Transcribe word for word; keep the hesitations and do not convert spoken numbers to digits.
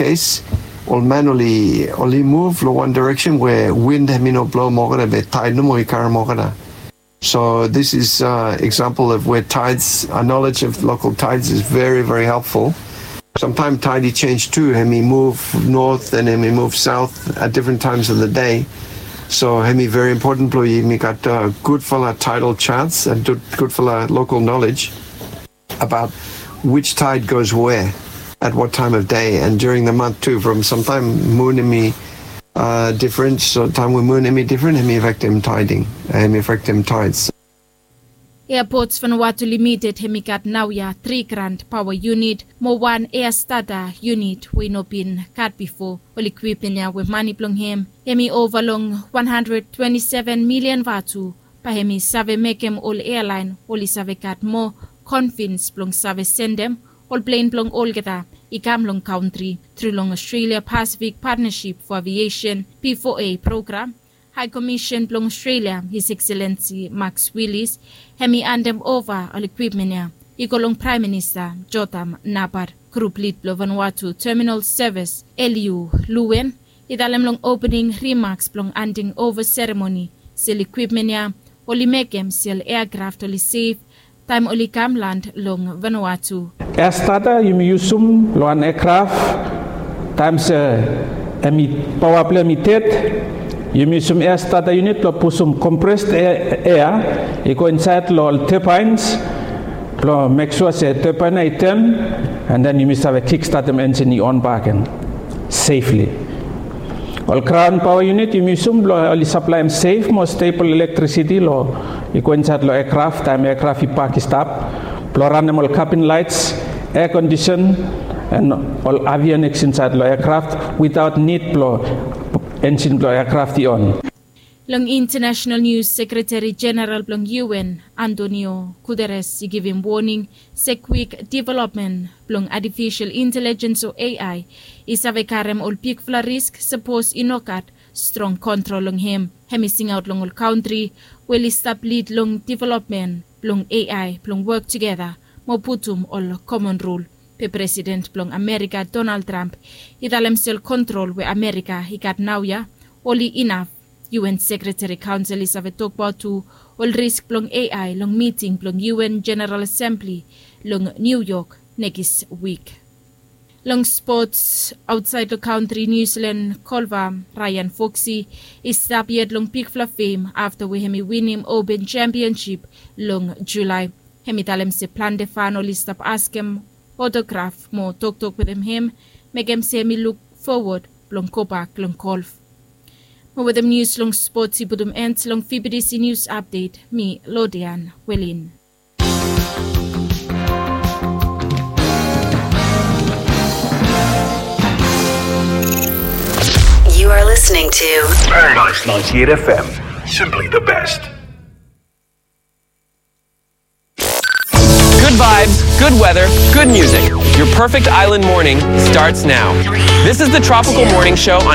Kes ol man oli oli muv long wan direksen we win hemi no blo moa olgeta be taed nomo i karem olgeta. So this is example of where tides, a knowledge of local tides is very very helpful. Samtaem taed i jenis tu, hemi muv not and hemi muv saot at different times of the day. So hemi very important blo yumi gat gudfala tidal charts and gudfala local knowledge about which tide goes where at what time of day and during the month tu. From samtaem mun hemi difren, so taem we mun hemi difren hemi afektem tiding, hemi afektem tides. Airports Vanuatu Limited hemi gat naoia tri grand paoa unit mo wan air starter unit we i no bin gat bifo. Ol ekwipmen ia we mane blong hem hemi ova long wan handred twenti seven milian vatu. Bae hemi save mekem ol airline oli save gat moa konfidens blong save sendem ol plen blong olgeta i kam long kantri tru long Australia Pacific Partnership for Aviation, P four A, program. Hae Komisen blong Australia, His Excellency Max Willis, hemi andem ova ol ekwipmen ia i go long Praem Minista Jotham Napat. Grup lid blong Vanuatu Terminal Service, Eliu Luen, i talem long opening rimaks blong anding ova seremoni se ol ekwipmen ia oli mekem se ol eakraf oli sef taem oli kam land long Vanuatu. Air starter yumi yusum long wan eakraf taem se hemi paoa blong hem i ded. Yumi yusum air starter unit blong pusum compressed air i go insaed long ol turbines blong mek sua se turbine ia i tan, and then yumi save kikstatem enjin i on bak gen safely. Ol graon paoa unit yumi yusum blong oli saplaem sef mo stebol elektrisiti long i go insaed long eakraf taem eakraf i pak i stap, blong ranem ol kabin laets, air condition, and ol avioniks insaed long eakraf witaot nid blong enjin blong eakraf i on. Long international nius, Sekreteri Jeneral blong U N, Antonio Guterres, i givim woning se kwik developmen blong atifisol intelejens o A I i save karem ol bigfala risk sapos i no gat strong kontrol long hem. Hemi singaot long ol kantri we oli stap lid long developmen blong A I blong wok tugeta mo putum ol komon rul. Be Presiden blong Amerika, Donald Trump, i talem se ol kontrol we Amerika i gat naoia oli inaf. U N Sekreteri Kaonsel i save tokbaot tu ol risk blong A I long miting blong U N Jeneral Asembli long Niu Yok nekis wik. Long spots, aotsaed long kantri, Niu Silan golfa Ryan Foxy i stap yet long bigfala fem afta we hemi winim Open Championship long Julae. Hemi talem se plante fan oli stap askem otograf mo toktok wetem hem, mekem se hemi luk fowod blong gobak long golf. Mo wetem nius long spots i putum en long V B T C News Update, mi Lodian Welin. You are listening to Paradise ninety-eight F M, simply the best. Good vibes, good weather, good music. Your perfect island morning starts now. This is the Tropical Morning Show on